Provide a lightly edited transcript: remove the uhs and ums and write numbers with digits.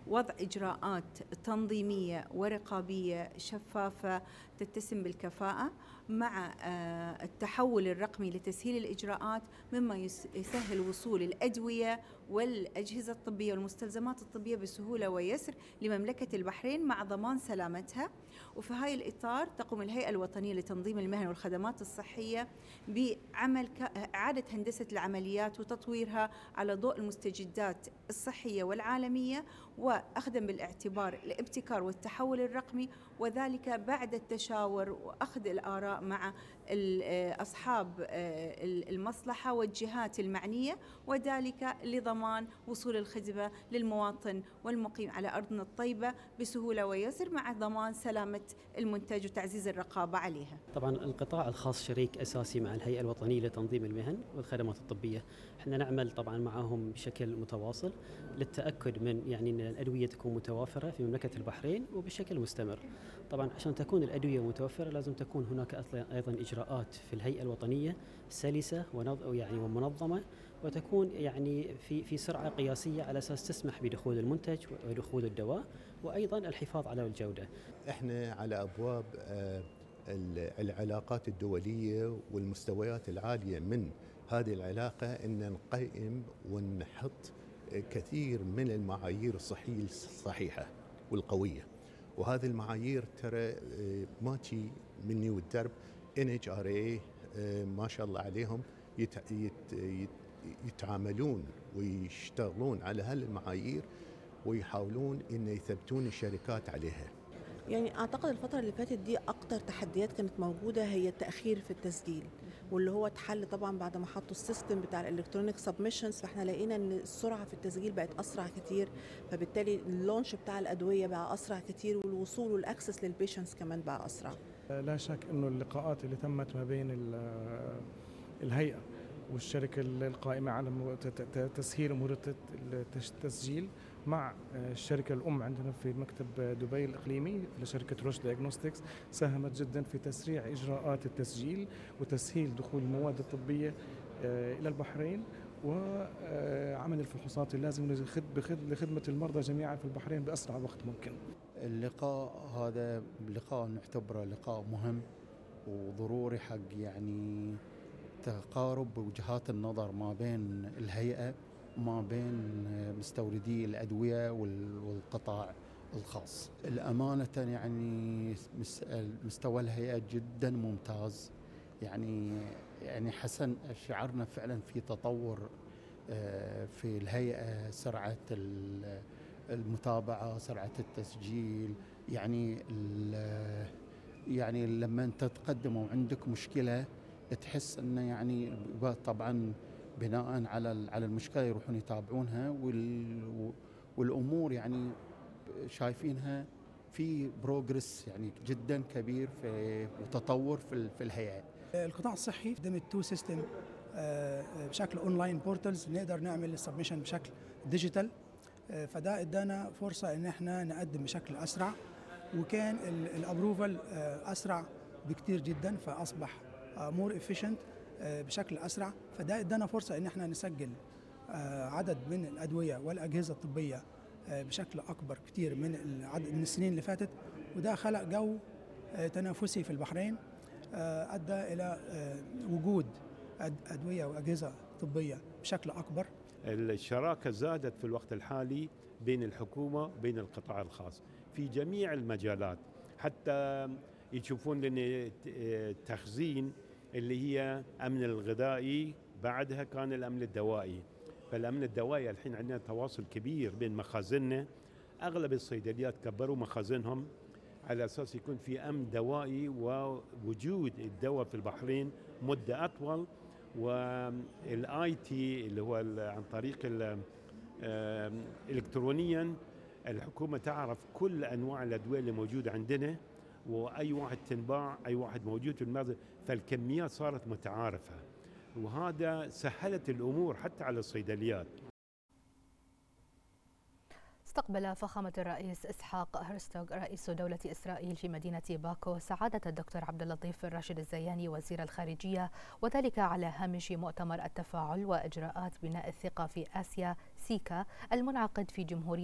وضع إجراءات تنظيمية ورقابية شفافة تتسم بالكفاءة مع التحول الرقمي لتسهيل الإجراءات، مما يسهل وصول الأدوية والأجهزة الطبية والمستلزمات الطبية بسهولة ويسر لمملكة البحرين مع ضمان سلامتها. وفي هاي الإطار تقوم الهيئة الوطنية لتنظيم المهن والخدمات الصحية بعمل إعادة هندسة العمليات وتطويرها على ضوء المستجدات الصحية والعالمية، وأخذا بالاعتبار الابتكار والتحول الرقمي، وذلك بعد التشاور وأخذ الآراء مع أصحاب المصلحة والجهات المعنية، وذلك لضمان وصول الخدمة للمواطن والمقيم على أرضنا الطيبة بسهولة ويسر مع ضمان سلامة المنتج وتعزيز الرقابة عليها. طبعا القطاع الخاص شريك أساسي مع الهيئة الوطنية لتنظيم المهن والخدمات الطبية. احنا نعمل طبعا معهم بشكل متواصل للتأكد من يعني أن الأدوية تكون متوافرة في مملكة البحرين وبشكل مستمر. طبعا عشان تكون الأدوية متوفرة لازم تكون هناك أيضا إجراءات في الهيئة الوطنية سلسة ومنظمة، وتكون يعني في سرعة قياسية على أساس تسمح بدخول المنتج ودخول الدواء، وأيضا الحفاظ على الجودة. احنا على أبواب العلاقات الدولية والمستويات العالية من هذه العلاقة أن نقيم ونحط كثير من المعايير الصحية الصحيحة والقوية، وهذه المعايير ترى ما تجي مني والدرب. NHRA ما شاء الله عليهم يتعاملون ويشتغلون على هالمعايير ويحاولون إن يثبتون الشركات عليها. يعني أعتقد الفترة اللي فاتت دي أكتر تحديات كانت موجودة هي التأخير في التسجيل، واللي هو اتحل طبعا بعد ما حطوا السيستم بتاع الالكترونيك سبمشنز، فاحنا لقينا ان السرعة في التسجيل بقت أسرع كتير، فبالتالي اللونش بتاع الأدوية بقى أسرع كتير، والوصول والأكسس للبيشنس كمان بقى أسرع. لا شك أنه اللقاءات اللي تمت ما بين الهيئة والشركة القائمة على تسهيل أمور التسجيل مع الشركة الأم عندنا في مكتب دبي الإقليمي لشركة روش دياغنوستكس ساهمت جدا في تسريع إجراءات التسجيل وتسهيل دخول المواد الطبية إلى البحرين، وعمل الفحوصات اللازمة لخدمة المرضى جميعا في البحرين بأسرع وقت ممكن. اللقاء هذا لقاء نعتبره لقاء مهم وضروري حق يعني تقارب وجهات النظر ما بين الهيئة وما بين مستوردي الأدوية والقطاع الخاص. الأمانة يعني مستوى الهيئة جدا ممتاز، يعني حسن شعرنا فعلا في تطور في الهيئة، سرعة المتابعة، سرعة التسجيل. يعني لما أنت تقدم وعندك مشكلة تحس أنه يعني طبعا بناء على المشكلة يروحون يتابعونها، والأمور يعني شايفينها في بروجرس يعني جدا كبير في وتطور في الهيئة. القطاع الصحي قدم التو سيستم بشكل اونلاين بورتالز، نقدر نعمل السبمشن بشكل ديجيتال، فده ادانا فرصة ان احنا نقدم بشكل اسرع، وكان الابروفال اسرع بكتير جدا، فاصبح مور افيشنت بشكل اسرع، فده ادانا فرصة ان احنا نسجل عدد من الادوية والاجهزة الطبية بشكل اكبر كتير من السنين اللي فاتت، وده خلق جو تنافسي في البحرين ادى الى وجود ادوية واجهزة طبية بشكل اكبر. الشراكة زادت في الوقت الحالي بين الحكومة وبين القطاع الخاص في جميع المجالات، حتى يشوفون لنا التخزين اللي هي أمن الغذائي، بعدها كان الأمن الدوائي. فالأمن الدوائي الحين عندنا تواصل كبير بين مخازننا، أغلب الصيدليات كبروا مخازنهم على أساس يكون في أمن دوائي ووجود الدواء في البحرين مدة أطول. والاي تي اللي هو عن طريق الكترونيا الحكومة تعرف كل أنواع الأدوية اللي موجودة عندنا، وأي واحد تنباع، أي واحد موجود في المخزن، فالكميات صارت متعارفة، وهذا سهلت الأمور حتى على الصيدليات. استقبل فخامة الرئيس إسحاق هرزوغ رئيس دولة إسرائيل في مدينة باكو سعادة الدكتور عبد اللطيف راشد الزياني وزير الخارجية، وذلك على هامش مؤتمر التفاعل وإجراءات بناء الثقة في آسيا سيكا المنعقد في جمهورية